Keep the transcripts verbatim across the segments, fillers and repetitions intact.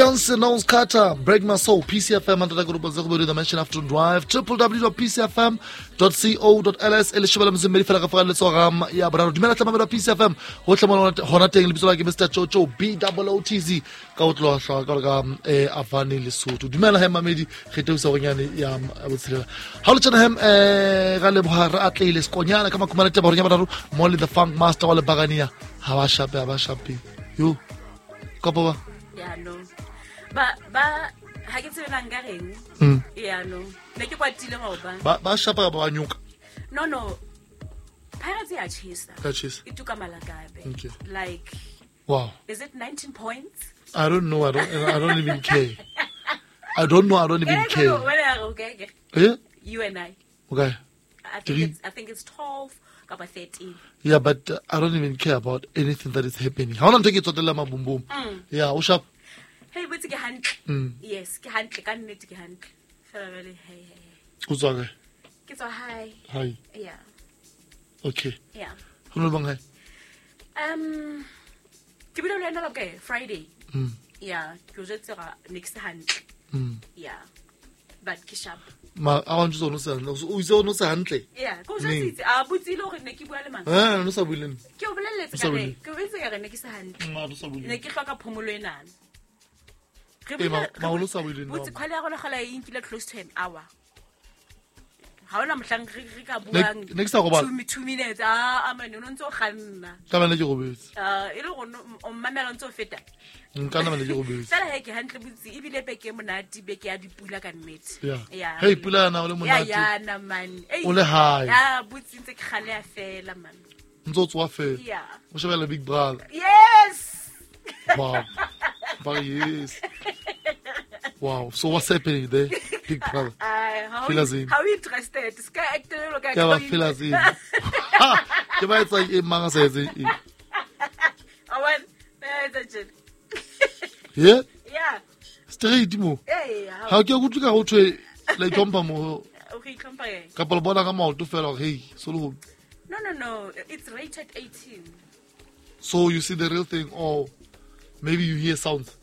Beyonce Knowles Carter, Break My Soul, P C F M under the group the Mansion Afternoon Drive, w w w dot p c f m dot co dot l s, e le shebela mzimbeli fela ka fara letsoga ya boraro. Dumela tla mamela P C F M, ho tle mona hona teng lebitso la ke Mister Jojo B O O T Z ka o tloha hla ka ka eh Avani Lesotho. Dumela he mamedi re teusa go nyane ya botshelela. Ha lo tjena hem eh ga leboha re atleile sekonyana ka makumana taba gore nya boraro Molly the Funk Master wa le Bagania ha ba shape ha ba shape. Yo kopo ba Yeah, no. Ba ba ha ke tsebe nka reng. Yeah, no. Ne ke kwatile ngoba. Ba ba shapa ba nyuka. No, no. Pirates ya chisa. Ya chisa. E tuka malakabe. Okay. Like wow. Is it nineteen points? I don't know. I don't I don't even care. I don't know. I don't even care. Okay. Yeah? You and I. Okay. I think it's, I think it's twelve about thirteen. Yeah, but uh, I don't even care about anything that is happening. How long take it to the lama boom boom? Yeah, o sharp. Hey, but ke hantle. Yes, ke hantle ka nnete ke hantle. Fela bele hey hey. O tswa kae? Ke tswa hi. Hi. Yeah. Okay. Yeah. Ho no bang hae? Um ke bile le ena okay, Friday. Mm. Yeah, ke o jwetse ga next hantle. Mm. Yeah. But ke sharp. Ma a wa ntse o no se hantle. O itse o no se hantle. Yeah, ko jwetse a botsile hore ne ke bua le mang. Eh, no sa buile. Ke o bolelletse ka re, ke o bolelletse ka re ne ke se hantle. Ma no sa buile. Ne ke hloka phomolo enana. Re ma ma o sa buile no. Botse khwale ya rona kgala e nkile close to an hour. Ha ona mohlang re re ka buang. Ne ke sa robala. two minutes. Ah, amane o ntse o kganna. Ka bana ke robetse. Ah, e le go o mmamela ntse o feta. Nka nna ke robetse. Fela he ke hantle botse e bile beke monate beke ya dipula ka nnete. Yeah. Hey pula na o le monate. Yeah, yeah na man. O le high. Yeah, botse ntse ke kgale ya fela man. Ntse o tswa fela. Yeah. O shebela Big Brother. Yes. Wow. But yes. Wow. So what's happening there, Big Brother? Uh, how you, how interested? Ska actor lo ka ka ba feel as in. Ha, ke ba etsa e mang sa etse e. Awan, etsa tjena. Yeah? Yeah. Straight mo. Eh, yeah. Ha ke go tluka go thwe la itlhompha mo. O re itlhompha eng? Ka palo bona ka maoto fela hey, so le go. No, no, no. It's rated eighteen. So you see the real thing or maybe you hear sounds.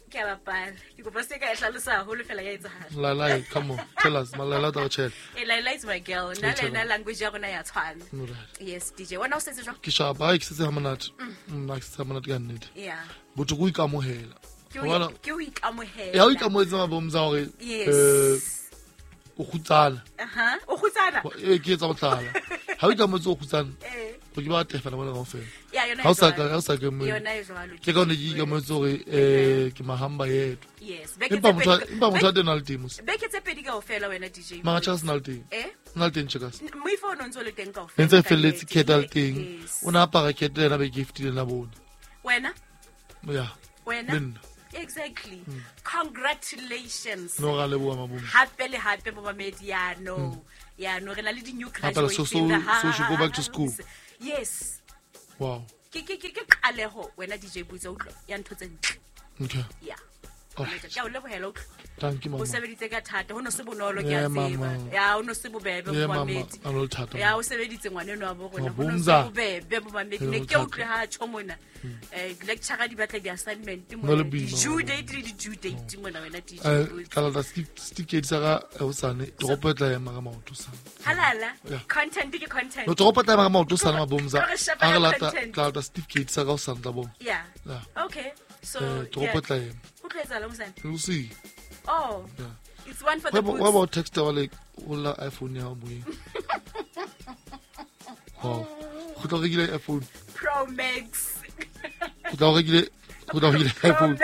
Ke a bapala. Ke kopa se ka e hlalosa haholo fela ya etsahala. Laila, come on. Tell us. Laila tla o tshela. Eh, Laila is my girl. Nna le ena language ya rona ya tshwana. Yes, D J. Wena o setse jwang? Ke shapa, ke setse ha monate. Nna ke setse ha monate ka nnete. Yeah. Botho go ikamohela. Ke o ikamohela. Ya o ikamohetse mabomza hore yes. Eh o kgutsana. Aha, o kgutsana. Eh, ke etsa botlala. Ha o ikamohetse o kgutsana. Eh. Go ke ba tefela bona kaofela. Yeah, yona. Ha o sa ka, ha o sa ke mo. Yona e jwalo. Ke ka one ke ikamohetse hore eh ke mahamba yethu. Yes. Empa motho empa motho a teng a le teng mos. Beke tse pedi kaofela wena D J. Mara Charles na le teng. Eh? Na le teng Checkers. Moifo o ntse o le teng kaofela. Ntse felletse keta le teng. O na apara kete le yena be giftile na bone. Wena? Yeah. Wena? Exactly. Mm. Congratulations. No ga leboha mabomo. Hape le hape bo mamedi ya no. Ya no re na le di new graduates so, so, in the house. So she go back to school. Yes. Wow. Ke ke ke ke qaleho wena D J Butsa utlwa ya ntho tse ntle. Okay. Yeah. Ke a o lebohela utlwa. Thank you mama. O sebeditse ka thata ho no se bonolo ke a tseba. Ya ho no se bobebe bo mamedi. Ya o sebeditse ngwane no wa bo rona ho no se bobebe bo mamedi. Ne ke utlwe ha tjho mona. Eh lecture di batla di assignment mona. Due date le di due date mona wena D J. Eh ka la certificate sa ga hosane toropo e tla ema ka maoto sana. Halala. Content ke content. No toropo tla ema ka maoto sana mabomza. Ha re lata tla lata certificate sa ga hosane tla bona. Yeah. Okay. So toropo tla ema. Ho tla etsahala hosane? We'll see. Oh. Yeah. It's one for the books. What about text wa like o la iPhone ya moyeng? Wow. Go tla rekile iPhone Pro Max. Go tla rekile go tla rekile iPhone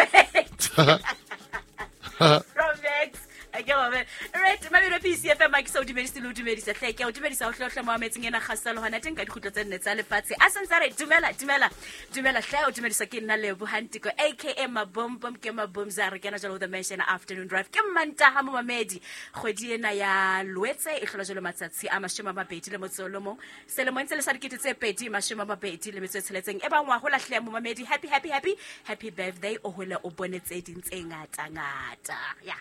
Pro Max. Ke ba right mabelo P C F M ke sa o dumedise le o dumedisa hle ke o dumedisa o hlohla mo ametseng ena kgasalo hona teng ka dikgutlo tse nne tsa lefatshe a santse re dumela dumela dumela hle o dumedisa ke nna Lebo Hantiko aka Mabombom ke Mabomza re kena jalo the Mansion Afternoon Drive ke Mantaha mo mamedi kgwedi ena ya Loetse e hlola jalo matsatsi a mashome a mabedi le motso o mong selemong se le sa dikete tse pedi mashome a mabedi le metso e tsheletseng e bangwa ho lahle mo mamedi happy happy happy happy birthday o hole o bone tse ding tse ngata ngata ya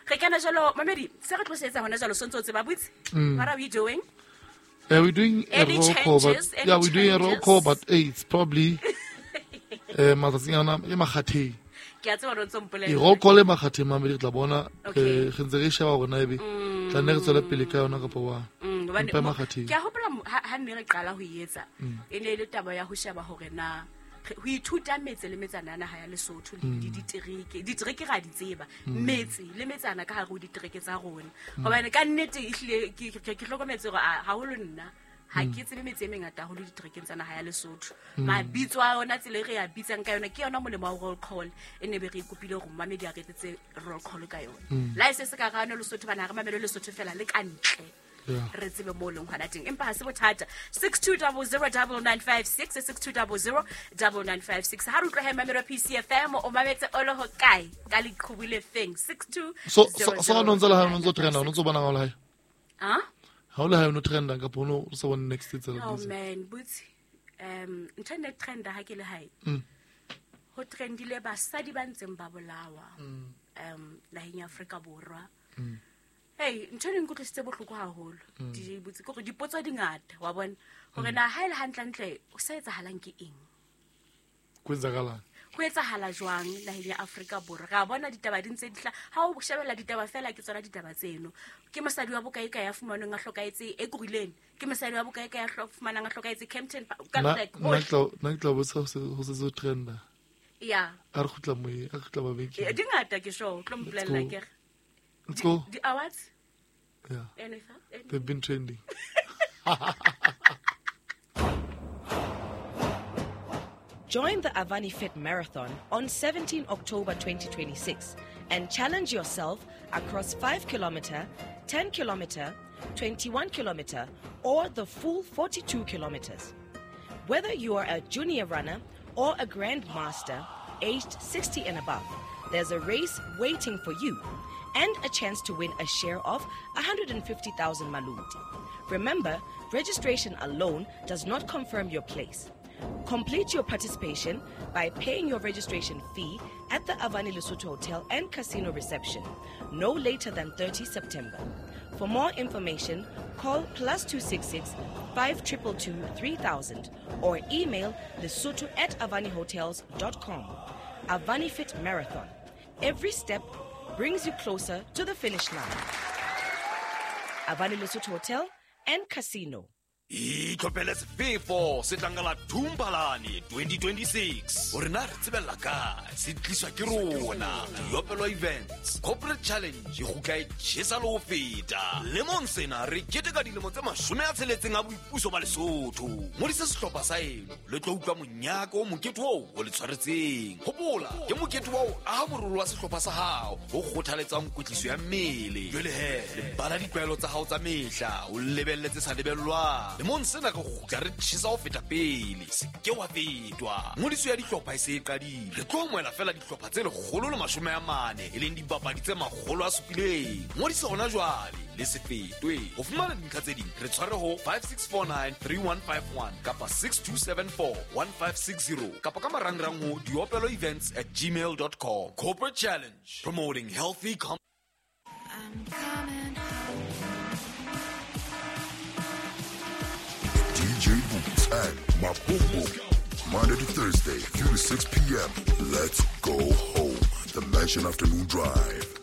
re kena jalo mamedi se re tlosetsa hona jalo sontso tse ba butse. What are we doing? Yeah, we're doing a any roll call, but any yeah, we're doing a roll call, but hey, it's probably eh matsatsing ana e makgatheng. Ke a tseba hore o ntso mpolella. E roll call e makgatheng mamedi re tla bona Okay. re re ntse re sheba hore na ebe tla nne re tswele pele ka yona kapa wa. Mm, hobane Empa e mo- makgatheng. ke a hopola mo- ha ha nne re qala ho e etsa e ne e le taba ya ho sheba hore na re- ho ithuta metse le metsana ya naha ya Lesotho le le ditereke. Ditereke ra di tseba, metse le metsana ka hare ho ditereke tsa rona. Hobane ka nnete ehlile ke ke ke hlokometse hore a- haholo nna ha ke tsebe metse e mengata haholo diterekeng tsa naha ya Lesotho. Mabitso a yona, tsela e re a bitsang ka yona, ke yona molemo wa roll call e ne be re ikopile hore momamedi a re etsetse roll call ka yona. Le ha e se se ka rano Lesotho, bana ha re mamele Lesotho fela le ka ntle. Yeah. Re tsebe mo leng hona teng, empa ha se bothata. six two double zero double nine five six, six two double zero double nine five six. Ha re utlwa he mamelo P C F M, o mametse o le hokae ka leqhubu le feng? six two So so so ha no ntse le ha no ntso trenda, o ntso bona ha o le hae? Ah? Ha o le hae o no trenda kapa o no o sa bone next tsela Oh busy? man, butsi. Um ntho e ne trenda ha ke le hae. Mm. Ho trendile basadi ba ntseng ba bolawa. Mm. Um naheng ya Afrika Borwa. Mm. Hey, ntho e nkutlwisitse bohloko haholo. Mm. Di botse ke hore dipotso di ngata, wa bona? Hore Mm. na ha e le hantlentle o sa etsahalang ke eng? Kwenzakalang? Ho etsahala jwang naheng ya Afrika Borwa? Ra bona ditaba di ntse di hla-, ha o shebella ditaba fela ke tsona ditaba tseno. Ke mosadi wa bokae kae ya fumanweng a hlokahetse Ekurhuleni? Ke mosadi wa bokae kae ya hlo-, fumanang a hlokahetse Kempton Park? Ka Nna- like, nna hohle. ke tla- nna ke tla botsa ho se, ho se se trenda. Yeah. A re kgutla moyeng, a re kgutla mabenkeleng. Eh, di ngata ke sure, o tlo Let's mpolella go. ke re. Let's go. Di awards? Yeah. Anything? Anything? They've been trending. Join the Avani Fit Marathon on seventeenth October twenty twenty-six and challenge yourself across five kilometer, ten kilometer, twenty-one kilometer, or the full forty-two kilometers. Whether you are a junior runner or a grandmaster aged sixty and above, there's a race waiting for you and a chance to win a share of a hundred and fifty thousand maluti. Remember, registration alone does not confirm your place. Complete your participation by paying your registration fee at the Avani Lesotho Hotel and Casino reception no later than thirty September. For more information, call plus two six six, five triple two, three thousand or email lesotho at avani hotels dot com. Avani Fit Marathon. Every step brings you closer to the finish line. Avani Lesotho Hotel and Casino. Itlhophele sefefo se tlang ka la Thumpalane twenty twenty-six. Hore na re tsebella kae, se tliswa ke rona. Diopelo Events Corporate Challenge e kgutla e tjhesa le ho feta. Lemong sena re keteka dilemo tse mashome a tsheletseng a boipuso ba Lesotho. Ngodisa sehlopha sa eno le tlo utlwa monyaka o mokete oo o le tshwaretseng. Hopola, ke mokete wa ho aha morolo wa sehlopha sa hao o kgothaletsang kwetliso ya mmele. Jwale he, lebala ditlwaelo tsa hao tsa mehla, o lebelle tse sa lebellwang. Lemong sena re kgutla re tjhesa ho feta pele. Se ke wa fetwa. Ngodiso ya dihlopha e se e qadile. Re tlo amohela feela dihlopha tse lekgolo le mashome a mane, e leng dibapadi tse makgolo a supileng. Ngodisa hona jwale le se fetwe. Ho fumana dintlha tse ding, re tshware ho five six four nine three one five one kapa six two seven four one five six zero kapa ka marangrang ho diopelo events at gmail dot com. Corporate Challenge, promoting healthy com- I'm coming. D J Boots and Maboom Monday to Thursday, three to six P M. Let's go home. The Mansion Afternoon Drive.